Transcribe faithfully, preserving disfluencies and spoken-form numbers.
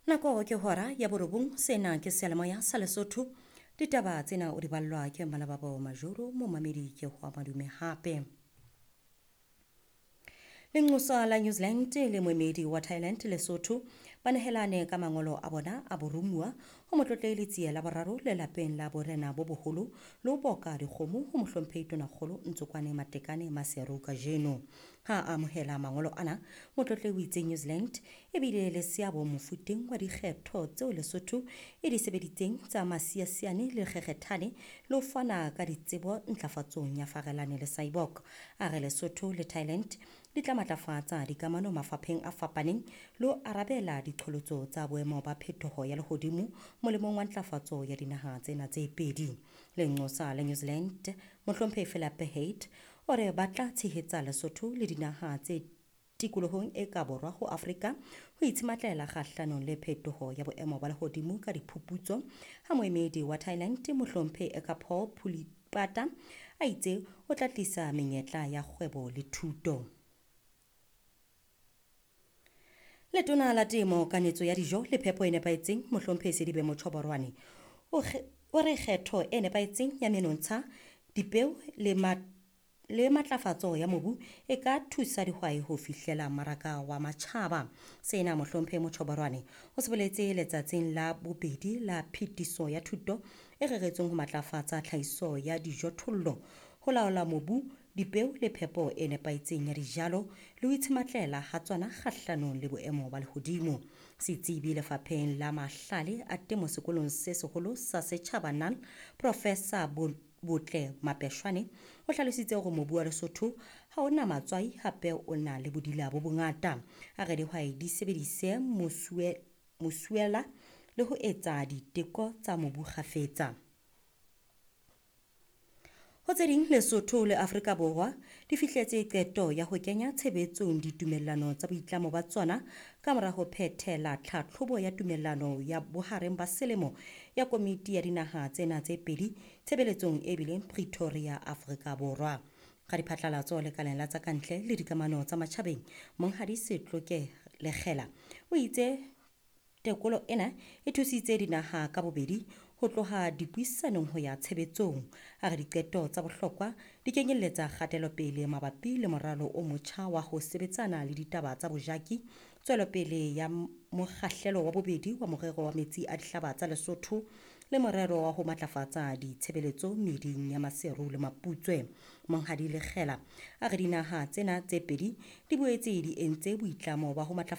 Nako ke hora ya borobong, sena ke seyalemoya sa Lesotho. Ditaba tsena o di ballwa ke Malababo Majoro, momamedi ke ho madume hape. Lenqosa la New Zealand le moemedi wa Thailand Lesotho ba nehelane ka mangolo a bona a boromuwa ho Motlotlehi Letsie la boraro lelapeng la borena bo boholo le ho boka dikgomo ho Mohlomphehi Tonakgolo Ntsokwane Matekane Maseru kajeno. Ha a amohela mangolo ana, Motlotlehi o itse New Zealand e bile le seabo mofuteng wa dikgetho tseo Lesotho e di sebeditseng tsa Masiasiane le Kgekgethane le ho fana ka ditsebo ntlafatsong ya Farelane le Cyborg. A re Lesotho le Thailand di tla matlafatsa dikamano mafapheng a fapaneng le ho arabela diqholotso tsa boemo ba phetoho ya lehodimo molemong wa ntlafatso ya dinaha tsena tse pedi. Lenqosa la New Zealand Mohlomphehi Philip Haight o re ba tla tshehetsa Lesotho le dinaha tse tikolohong e ka borwa ho Afrika ho itshematlela kgahlanong le phetoho ya boemo ba lehodimo ka diphuputso. Ha moemedi wa Thailand Mohlomphehi Ekapol Pulipata a itse o tla tlisa menyetla ya kgwebo le thuto. Letona la Temo, Kanetso ya Dijo le Phepo e Nepahetseng Mohlomphehi Sedibe Motjhoborwane o re kgetho e nepahetseng ya menontsha, dipeo le le matlafatso ya mobu e ka thusa dihwai ho fihlela mmaraka wa matjhaba. Sena Mohlomphehi Motjhoborwane o se boletse letsatsing la bobedi la phetiso ya thuto e reretsweng ho matlafatsa tlhahiso ya dijothollo, ho laola mobu, dipeo le phepo e nepahetseng ya dijalo le ho itshematlela ha tsona kgahlanong le boemo ba lehodimo. Setsebi lefapheng la mahlale a temo sekolong se seholo sa setjhaba N A L, Professor Botle Mapeshwane o hlalositse hore mobu wa Lesotho ha o na matswai hape o na le bodila bo bongata. A re dihwai di sebedise mosuela le ho etsa diteko tsa mobu kgafetsa. Ho tse ding, Lesotho le Afrika Borwa di fihletse qeto ya ho kenya tshebetsong ditumellano tsa boitlamo ba tsona ka mora ho phethela tlhatlhobo ya tumellano ya bohareng ba selemo ya komiti ya dinaha tsena tse pedi tshebeletsong e bileng Pretoria, Afrika Borwa. Radiphatlalatso lekaleng la tsa kantle le dikamano tsa matjhabeng Monghadi Setloke Lekgela o itse tekolo ena e thusitse dinaha ka bobedi ho tloha dipuisanong ho ya tshebetsong. A re diqeto tsa bohlokwa di kenyelletsa kgatelopele mabapi le moralo o motjha wa ho sebetsana le ditaba tsa bojaki, tswelopele ya mokgahlelo wa bobedi wa morero wa metsi a dihlaba tsa Lesotho le morero wa ho matlafatsa ditshebeletso meeding ya Maseru le Maputswe. Monghadi Lekgela a re dinaha tsena tse pedi di boetse di entse boitlamo ba ho matlafatsa